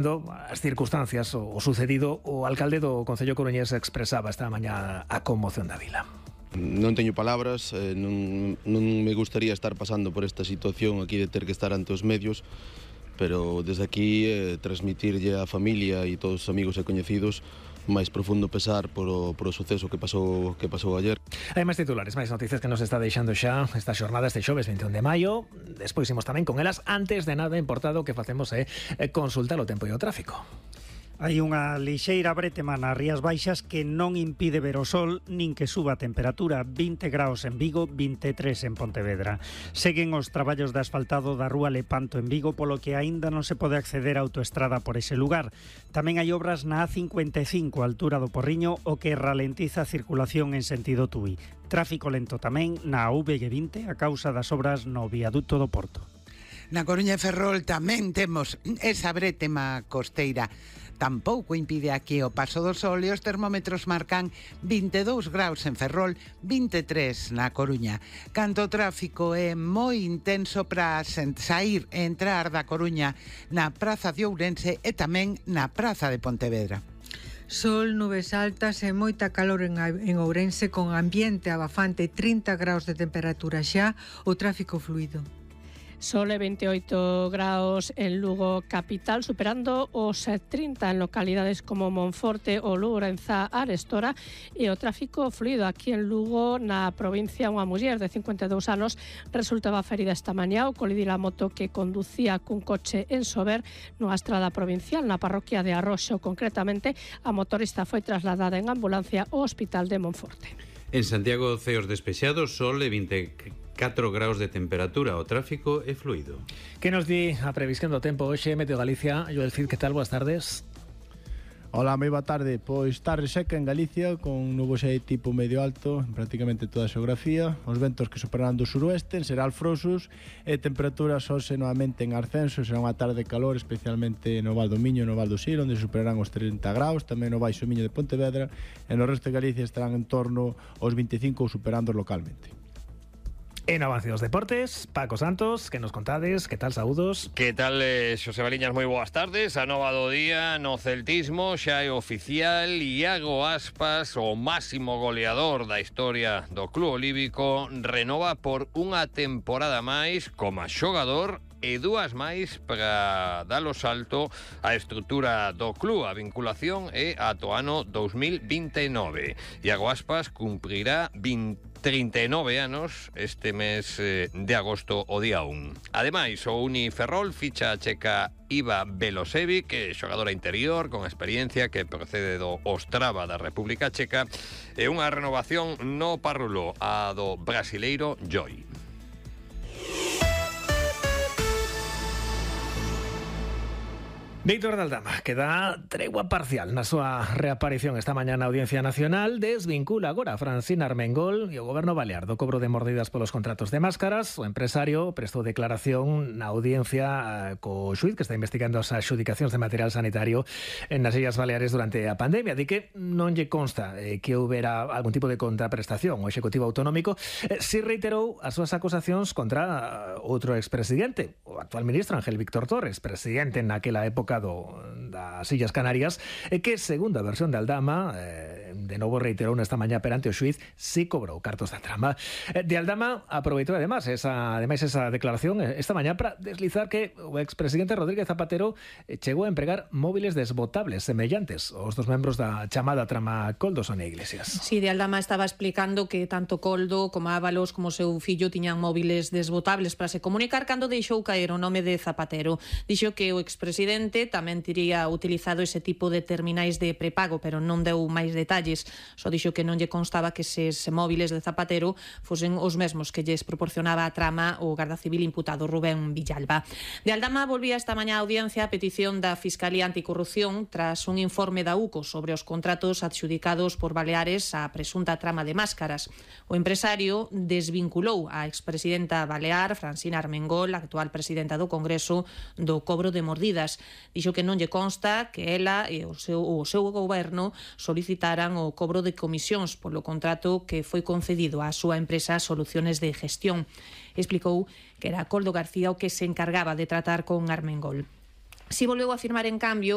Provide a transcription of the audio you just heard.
as circunstancias o sucedido, o alcalde do Concello coruñés expresaba esta mañá a conmoción da vila. Non teño palabras, non me gustaría estar pasando por esta situación aquí de ter que estar ante os medios, pero desde aquí transmitirlle á familia e todos os amigos e coñecidos máis profundo pesar por o suceso que pasou ayer. Hai máis titulares, máis noticias que nos está deixando xa esta xornada, este xoves 21 de maio. Despois imos tamén con elas. Antes de nada, importado, que facemos consultar o tempo e o tráfico. Hai unha lixeira brétema nas Rías Baixas que non impide ver o sol nin que suba a temperatura. 20 graus en Vigo, 23 en Pontevedra. Seguen os traballos de asfaltado da rúa Lepanto en Vigo, polo que aínda non se pode acceder á autoestrada por ese lugar. Tamén hai obras na A55, altura do Porriño, o que ralentiza a circulación en sentido Tui. Tráfico lento tamén na VG20 a causa das obras no viaduto do Porto. Na Coruña e Ferrol tamén temos esa brétema costeira. Tampouco impide aquí o paso do sol e os termómetros marcan 22 graus en Ferrol, 23 na Coruña. Canto o tráfico é moi intenso para sair e entrar da Coruña na Praza de Ourense e tamén na Praza de Pontevedra. Sol, nubes altas e moita calor en Ourense, con ambiente abafante, 30 graus de temperatura xa, o tráfico fluido. Sol e 28 graus en Lugo capital, superando os 30 en localidades como Monforte ou Lourenza, Arestora, e o tráfico fluido aquí en Lugo, na provincia. Unha muller de 52 anos resultaba ferida esta mañá ao colidir a moto que conducía cun coche en Sober nunha estrada provincial na parroquia de Arroxo. Concretamente, a motorista foi trasladada en ambulancia ao hospital de Monforte. En Santiago, ceos despexados, sol e 24 graus de temperatura, o tráfico é fluido. Que nos di a previsión do tempo hoxe, Meteo Galicia? Joel Cid, que tal? Boas tardes. Hola, moi boa tarde. Pois tarde seca en Galicia, con nubosidade tipo medio alto en prácticamente toda a xeografía. Os ventos que superarán do suroeste, en Seral frosos, e temperaturas hoxe novamente en ascenso. Será unha tarde de calor, especialmente no Val do Miño e no Val do Sil, onde superarán os 30 graus, tamén no Baixo Miño de Pontevedra, e no resto de Galicia estarán en torno aos 25 ou superando localmente. En avance dos deportes, Paco Santos, que nos contades? Que tal, saúdos? Que tal, Xosé Baliñas, moi boas tardes. A nova do día no celtismo xa é oficial. Iago Aspas, o máximo goleador da historia do club olívico, renova por unha temporada máis como xogador e dúas máis para dar o salto á estrutura do club. A vinculación é ata o ano 2029. Iago Aspas cumprirá 39 anos este mes de agosto o día 1. Ademais, o Uniferrol ficha a checa Iva Belosevic, que é xogadora interior con experiencia que procede do Ostrava da República Checa, e unha renovación no Parrulo, a do brasileiro Joy. Víctor de Aldama, que dá tregua parcial na súa reaparición esta mañá na Audiencia Nacional, desvincula agora a Francina Armengol e o Goberno Balear do cobro de mordidas polos contratos de máscaras. O empresario prestou declaración na audiencia co xuíz que está investigando as adxudicacións de material sanitario nas Illas Baleares durante a pandemia. Di que non lle consta que houbera algún tipo de contraprestación o Executivo Autonómico. Si reiterou as súas acusacións contra outro expresidente, o actual ministro Ángel Víctor Torres, presidente naquela época das Illas Canarias, que, segundo a versión de Aldama, de novo reiterou nesta mañá perante o xuíz, si cobrou cartos da trama. De Aldama aproveitou ademais esa declaración esta mañá para deslizar que o expresidente Rodríguez Zapatero chegou a empregar móviles desbotables semellantes aos dos membros da chamada trama Koldo Sonia Iglesias. Si, de Aldama estaba explicando que tanto Koldo como Ábalos como seu fillo tiñan móviles desbotables para se comunicar cando deixou caer o nome de Zapatero. Dixo que o expresidente tamén tería utilizado ese tipo de terminais de prepago, pero non deu máis detalles. Só dixo que non lle constaba que eses móviles de Zapatero fosen os mesmos que lles proporcionaba a trama o Garda Civil imputado Rubén Villalba. De Aldama volvía esta mañá a audiencia a petición da Fiscalía Anticorrupción tras un informe da UCO sobre os contratos adxudicados por Baleares á presunta trama de máscaras. O empresario desvinculou a expresidenta balear, Francina Armengol, actual presidenta do Congreso, do cobro de mordidas. Dixo que non lle consta que ela e o seu goberno solicitaran o cobro de comisións polo contrato que foi concedido á súa empresa Soluciones de Gestión. Explicou que era Koldo García o que se encargaba de tratar con Armengol. Si volveu a afirmar, en cambio,